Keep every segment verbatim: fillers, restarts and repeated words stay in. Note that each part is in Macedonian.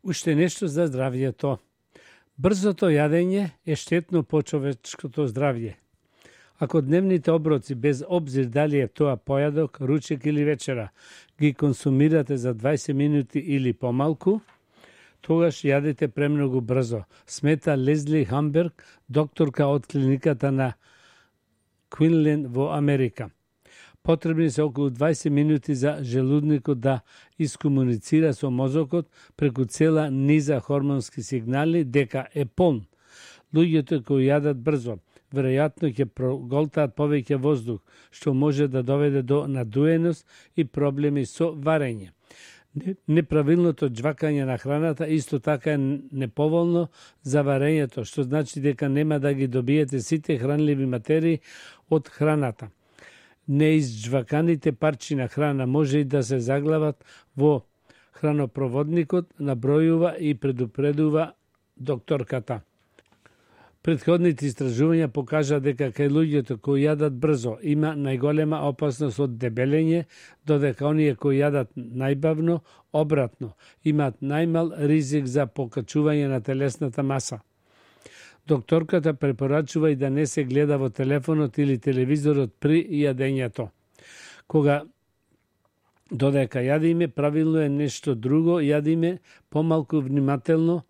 Уште нешто за здравјето. Брзото јадење е штетно по човечкото здравје. Ако дневните оброци, без обзир дали е тоа појадок, ручек или вечера, ги консумирате за дваесет минути или помалку, тогаш јадете премногу брзо, смета Лезли Хамберг, докторка од клиниката на Квинлен во Америка. Потребни се околу дваесет минути за желудникот да искомуницира со мозокот преку цела низа хормонски сигнали дека е полн. Луѓето кои јадат брзо, веројатно ќе проголтаат повеќе воздух, што може да доведе до надуеност и проблеми со варење. Неправилното џвакање на храната исто така е неповолно за варењето, што значи дека нема да ги добиете сите хранливи материи од храната. Неизџваканите парчи на храна може и да се заглават во хранопроводникот, набројува и предупредува докторката. Предходните истражувања покажа дека кај луѓето кои јадат брзо има најголема опасност од дебелење, додека оние кои јадат најбавно, обратно, имаат најмал ризик за покачување на телесната маса. Докторката препорачува и да не се гледа во телефонот или телевизорот при јадењето. Кога додека јадиме, правилно е нешто друго, јадиме помалку внимателно,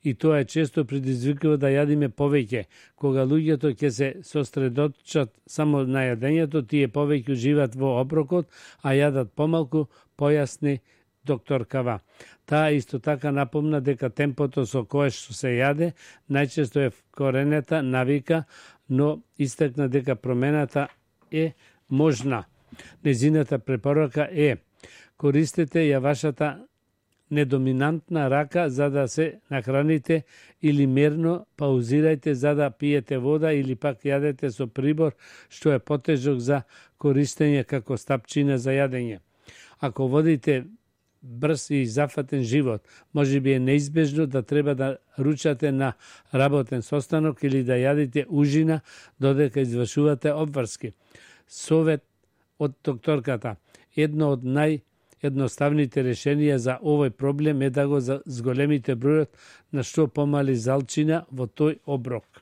и тоа е често предизвикува да јадиме повеќе. Кога луѓето ќе се сосредоточат само на јадењето, тие повеќе уживаат во оброкот, а јадат помалку, појасни докторкава. Таа исто така напомна дека темпото со кое што се јаде најчесто е вкоренета навика, но истакна дека промената е можна. Незината препорака е: користете ја вашата недоминантна рака за да се нахраните или мерно паузирајте за да пиете вода или пак јадете со прибор што е потежок за користење како стапчина за јадење. Ако водите брз и зафатен живот, може би е неизбежно да треба да ручате на работен состанок или да јадите ужина додека извршувате обврски. Совет од докторката: едно од нај едноставните решенија за овој проблем е да го зголемите бројот на што помали залчина во тој оброк.